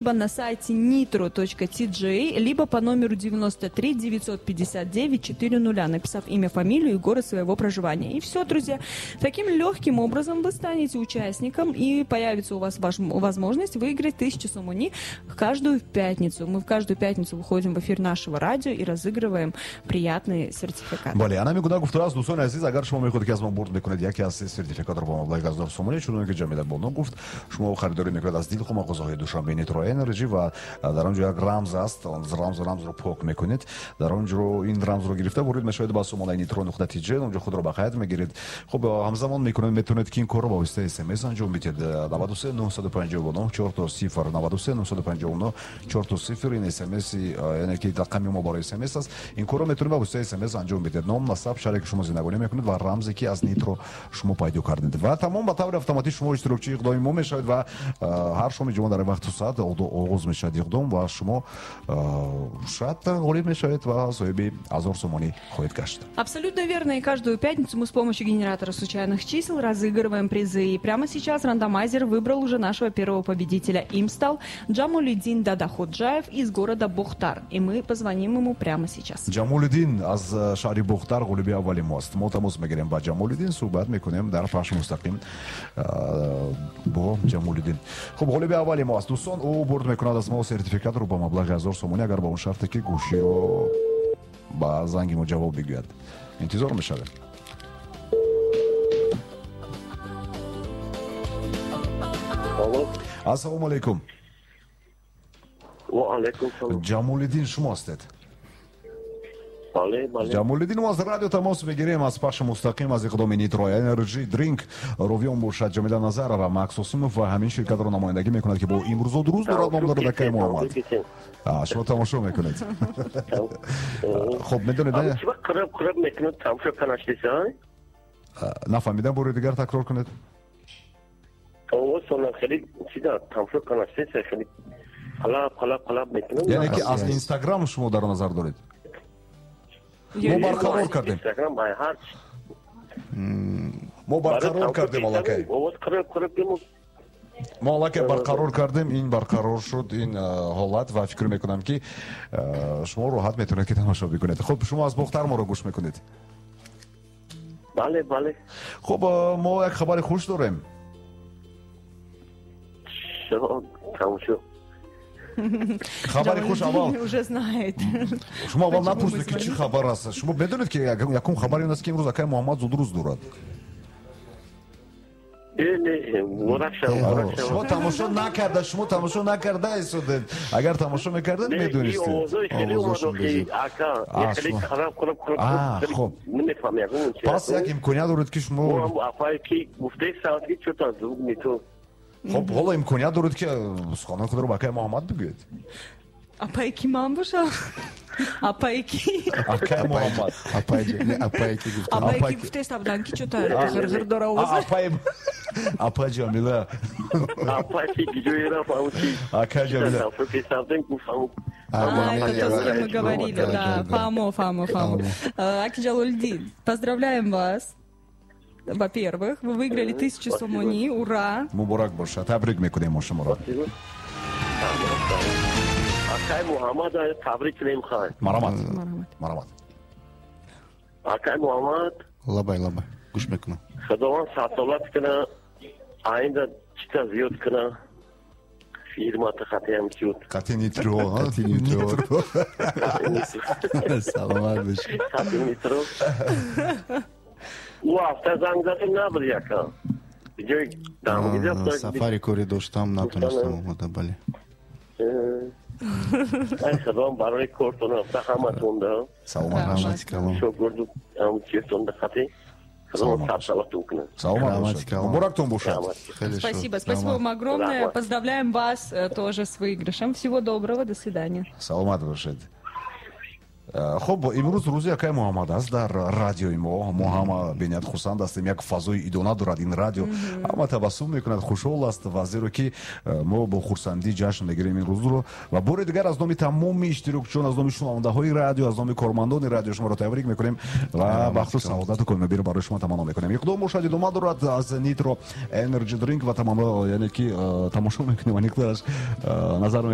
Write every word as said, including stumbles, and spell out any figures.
На сайте nitro точка ти джей, либо по номеру девяносто три девятьсот пятьдесят девять четыре нуля, написав имя, фамилию и город своего проживания. И все, друзья, таким легким образом вы станете участником, и появится у вас ваш, возможность выиграть тысячу сомони каждую пятницу. Мы в каждую пятницу выходим в эфир нашего радио и разыгрываем приятные сертификаты. Бале, ана мегӯяд гуфтааст, дӯстони азиз, агар шумо мехоҳед ки аз мо бурд мекунед яке аз се сертификатро бо маблағи ҳазор сомонӣ, чуноне ки Ҷамила Бону гуфт, шумо харидорӣ мекунед аз дилхоҳ мағозаҳои Душанбе Nitro Energy ва дар он ҷо як рамз аст, он рамз рамзро пок мекунед, дар он ҷо ин рамзро гирифта ворид мешавед ба сомонаи nitro нуқта ти джей, он ҷо худро ба қайд мегиред. Хуб, ҳамзамон мекунед, метавонед ки ин корро ба воситаи смс анҷом бидиҳед. Наваду се нӯҳсаду панҷоҳу нӯҳ чор сифр, наваду се нӯҳсаду панҷоҳу нӯҳ чор сифр, ин смс, яъне ки рақами мо барои смс аст. Ин корро метавонед ба воситаи смс анҷом бидиҳед. Ном, насаб, шаҳре ки шумо зиндагонӣ мекунед ва рамзе ки аз Nitro шумо пайдо кардед. Ва тамом ба таври автоматӣ шумо иштирокчии иқдоми мо мешавед ва ҳар шоми ҷумъа дар вақту соат оғоз мешавад иқдом ва шумо шояд ғолиб мешавед ва соҳиби ҳазор сомонӣ хоҳед гашт. Абсолютно верно. И каждую пятницу мы с помощью генератора случайных чисел разыгрываем призы. И прямо сейчас рандомайзер выбрал уже нашего первого победителя. Им стал Джамолидин Дадаходжаев из города Бохтар. И мы позвоним ему прямо сейчас. Ҷамолиддин аз шаҳри Бохтар ғолиби аввали мост. Мо тамос мегирем ба Ҷамолиддин, суҳбат мекунем дар пахши мустақим бо Ҷамолиддин. Хуб, ғолиби аввали мо аст, дӯстон. Ӯ бурд мекунад аз мо сертификатро ба маблағи ҳазор сомонӣ, агар ба он шарте ки гӯширо ба занги мо ҷавоб бигӯяд. Интизор мешавем. Ассалому алайкум. Ва алайкум салом. Ҷамолиддин шумо ҳастед? Бале, бале. Ҷамолиддин, мо аз радио тамос мегирем, аз пахши мустақим аз иқдоми Nitro Energy Drink. Ровиён бошад Ҷамила Назарова, Макс Осимов ва ҳамин ширкатро намояндагӣ мекунад, ки бо имрӯзо дуруст дорад ном дорад акаи Муҳаммад. Шумо тамошо мекунед. Хуб, медонед, қириб қириб мекунад, тамошо канаштиса? Нафаҳмидам, бори дигар такрор кунед. Овозтонам хеле чида тамошо канаштиса, хеле қалаб қалаб қалаб мекунад. Яъне ки аз Инстаграм шумо дар назар доред? Мо барқарор кардем. Мо барқарор кардем аллакай. Мо аллакай барқарор кардем, ин барқарор шуд ин ҳолат ва фикр мекунам ки шумо роҳат метавонед ки тамошо бикунед. Хуб, шумо аз Бохтар моро гӯш мекунед? Бале, бале. Хуб, мо як хабари хуш дорем. Тамошо. Хабари хуш аввал. Уже знает. Шумо аввал напурсед ки чӣ хабар аст. Шумо медонед ки якум хабари он аст ки имрӯз акаи Муҳаммад зудрӯз дорад. Шумо тамошо накарда, шумо тамошо накарда истодед. Агар тамошо мекардед, медонистед. Хуб. Пас як имконият доред ки шумо хуб, ҳоло имконият доред ки суханони худро ба акаи Муҳаммад бигӯед. Апае ки ман бошам? Апае ки? Акаи Муҳаммад. Апае ки гуфтам. Апае ки гуфтеста будан ки чӯта ғирғир дора овоз. Апае апа Ҷамила. Апае ки ҷои рафт, ам чи. Акаи Ҷамила. А, это то, с кем мы говорили, да. Фамо, Фамо, Фамо. Аки Ҷалолиддин, поздравляем вас. Во-первых, вы выиграли тысячу сомони. Ура! Муборак бошад. Табрик мекунем мо шуморо. Акай Муҳаммад табрик кунем хай. Марамат. Марамат. Акай Муҳаммад. Лабай, лабай. Гӯш мекунам. Худованд садсолат кунад, оинда чита зиёд кунад. Фирмата хатиам чуд. Қати Нитро, Қати Нитро. Саломат бошед. Қати Нитро. Ӯ ҳафта занг задем, набуд яка. Ҷои дамгида сафари корӣ доштам, натонистам омада, бале. Ай худованд барои кортон ҳафта ҳаматон да. Саломат бошед. Шогирду ҳам чизтон да хати. Худованд садсолатон кунад. Саломат бошед. Муборактон бошад. Спасибо, спасибо вам огромное. Поздравляем вас тоже с выигрышем. Всего доброго, до свидания. Саломат бошед. Хуб, имрӯз рӯзи акай Муҳаммад аст дар радиои мо. Мо ҳама бениҳоят хурсанд ҳастем, як фазои идона дорад ин радио, ҳама табассум мекунад, хушҳол аст ва зеро ки э, мо бо хурсандӣ ҷашн мегирем ин рӯзро. Ва бори дигар аз номи тамоми иштирокчиён, аз номи шунавандаҳои радио, аз номи кормандони радио шуморо табрик мекунем ва бахту саодату комёбиро барои шумо таманно мекунем. Иқдом бошад, идома дорад аз Nitro Energy Drink ва тамано, яъне ки э, тамошо мекунем, аниқтараш э, назар.